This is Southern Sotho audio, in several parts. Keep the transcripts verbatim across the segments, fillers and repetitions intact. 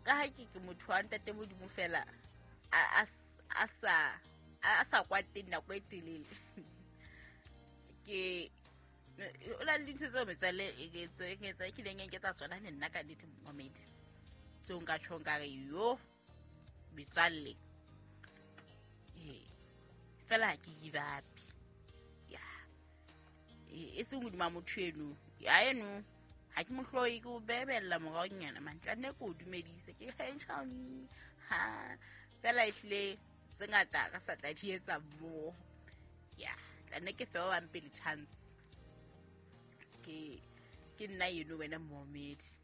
Ka ha ke ke motho wa ntate Modimo fela a a sa a sa kwateng nako e telele. Ke o na le dintho tseo metswalle e ke tse ke leng ke tsa tsona le nna ka nnete momedi. Tseo nka tjhong ka re yo metswalle. Eh fela ha ke give up. Ya. E seng hodima motho eno. Ya eno ha ke mohloyi ke o bebella moraonyana man. Tla nne ke o dumedise ke hey ha fela ehlile tse ngata ka sa tla di etsa mo. Ya, tla nne ke fe ba bang pele chance. Ke ke nna eno wena momedi.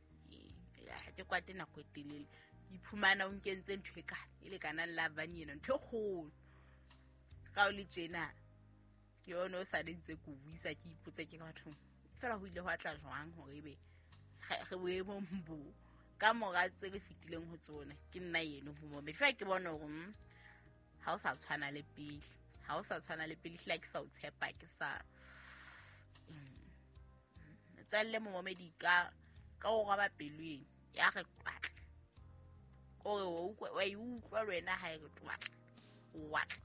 Ya, ha ke kwate nako e telele. Iphumana o nkentse ntho e kana e lekanang la vani ena ntho e kgolo. Ka o le tjena ke yona o sa ntse ke buisa ke ipotsa ke bathong fela ho ile hwa tla jwang hore ebe re boemong bo ka mora tse re fetileng ho tsona ke nna eno ho momedi. Fela ke bona hore ha o sa tshwana le pele, ha o sa tshwana le pele hlile ke sa o tshepa ke sa tswalle momedi ka ka o roba pelong ya re twatla. Kore wa e utlwa le wena ha e re twatla watla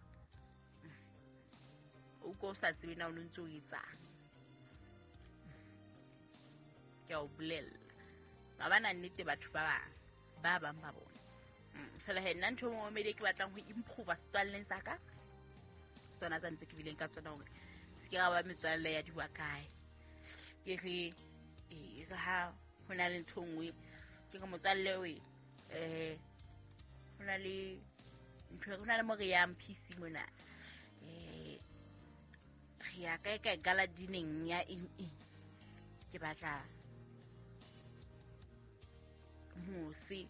o ko sa tsebe na o ntse o etsang. Ke a o bolella ba bana nnete batho ba bang ba bang ba bona. Fela he nna ntho momedi ke batlang ho improve setswalleng sa ka tsona tsa ntse ke bileng ka tsona hore se ke ra ba metswalle ya diwa kae. Ke re e re ha ho na le ntho nngwe ke re motswalle we eh ho na le ntho ho na le mo re yang P C mona eh re ya kae kae gala dineng ya eng eng ke batla mose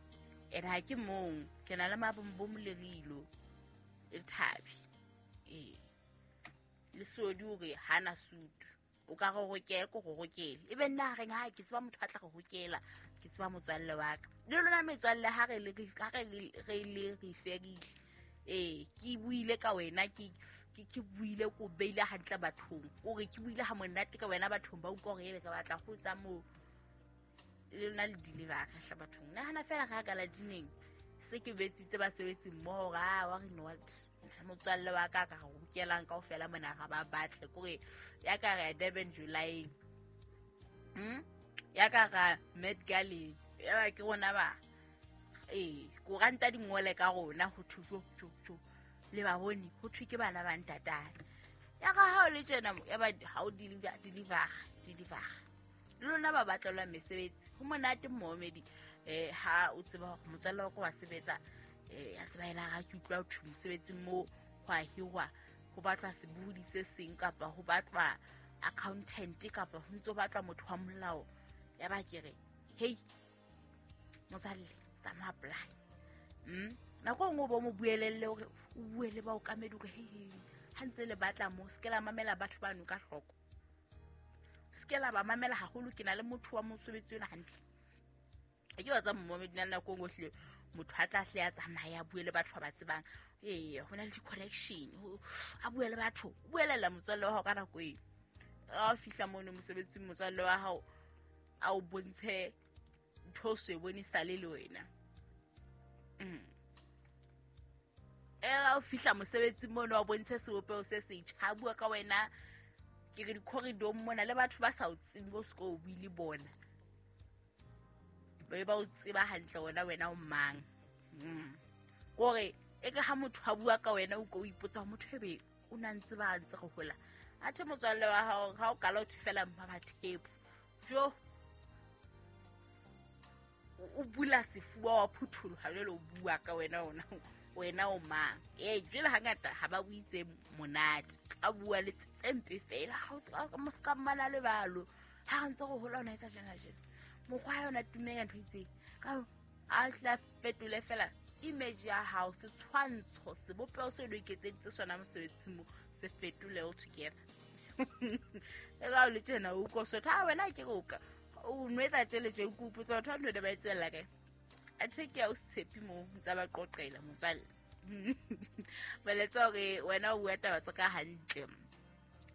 ene ha ke mong ke na le mabombo le rilo le thabi eh le sodi hore hana sutu o ka go rokela ko go rokele e be nna reng ha ke tseba motho a tla go rokela ke tseba motswalle wa ka le lona metswalle ha re le ha re re le re ferile eh ke buile ka wena ke ke buile ko beile hantle bathong o re ke buile ha monate ka wena bathong ba utlwa hore ebe ka batla go tsa mo le lona le deliver ka hla bathong nahana fela ga ka la dineng se ke betsitse ba sebetsi mmoho ga wa re no what motswalle wa ka ka go rokelang kaofela mona ga ba batle kore ya ka re Durban July hm ya ka ga Met Gala ya ba ke rona ba eh koranta dingole ka rona ho thuso jo jo le ba bone ho thwe ke bana ba ntatane ya ka ha o le tjena ya ba ha o deliver deliver deliver le lona ba batlelwa mesebetsi ho monate momedi eh ha o tseba hore motswalle wa ka wa sebetsa eh ya tseba ela ga ke utlwa ho mosebetsing mo ho a hirwa ho batlwa sebohodi se seng kapa ho batlwa accountant kapa ho ntso batlwa motho wa molao ya ba ke re hey motswalle tsamaya apply mm nako nngwe bo mo buelelle hore o bue le ba o kamedi hore hey ha ntse le batla mo se ke la mamela batho ba no ka hloko se ke la ba mamela haholo ke na le motho wa mosebetsi ona hantle e ke ba tsa momedi nna nako nngwe hle motho a tla hle a tsamaya a bue le batho ba ba tsebang ee ho na le di-connection a bue le batho o buelela motswalle wa hao ka nako eo ha o fihla mono mosebetsing motswalle wa hao a o bontshe ntho o so e bone sale le wena e ha o fihla mosebetsing mono a bontshe sebopeho se setjha a bua ka wena ke re di-corridor mona le batho ba sa o tsebe o se ke o bue le bona ba ba o tseba hantle wena wena o mang mm kore e ke ha motho a bua ka wena o ko o ipotsa motho ebe o na ntse ba ntse go hola athe motswalle wa hao ha o kala o thufela mpa ba thepo jo o bula sefuba wa phutholoha jwale o bua ka wena ona wena o mang ee jwale hangata ha ba buitse monate a bua le tse mpe fela ha o se ka mmala lebalo ha re ntse go hola ona etsa jena jena mokgwa yona tumeng ntho itseng ka a tla fetole fela image ya hao setshwantsho sebopeho se lo iketseditse sona mosebetsing mo se fetole all together e ka o le tjena o ko sotho ha wena ke go ka o nwetsa tjhelete o kopotsa batho ba ntho ba e tswella kae a theke ya o tshepi mo ntsa ba qoqela motswalle baletsa hore wena o bua taba tsa ka hantle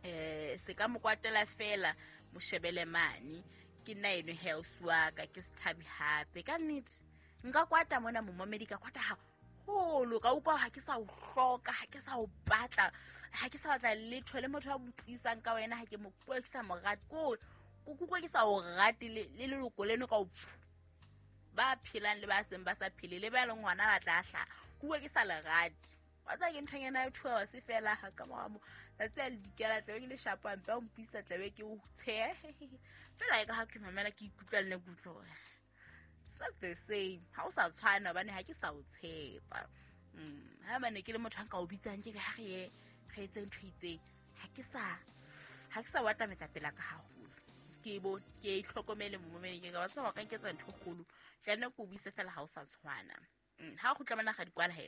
eh se ka mokwatela fela moshebele mane ke nna eno health wa ka ke sethabi hape ka nnete Nka kwata mona momamedi ka kwata haholo, ka utlwa ha ke sa o hloka, ha ke sa o batla, ha ke sa batla letho le motho a mpuisang ka wena, ha ke mo ke sa mo rate, ko ko ke sa o rate le leloko leno ka o ba phelang le ba seng ba sa phele le ba leng hona ba tla hla. Kuwe ke sa le rate. Wa tseba ke nthonyana ya two hours fela ha ka mora mo tsatsi a le dikela tlabe ke le shapo hampe, o mpuisa tlabe ke o tsheha fela. E ka ha ke mamela ke ikutlwa le nna ke utlwa hore it's not the same, ha o sa tshwana hobane ha ke sa o tshepa. Ha bane ke le motho a nka o bitsang ke ha re ye re etse ntho e itseng, ha ke sa ha ke sa o atametsa pela ka haholo. Ke bo ke itlhokomele momamedi, ke ka ba tseba ka nketsa ntho e kgolo, tla nne ke o buise fela ha o sa tshwana. Ha o kgutla mona ga di kwala he.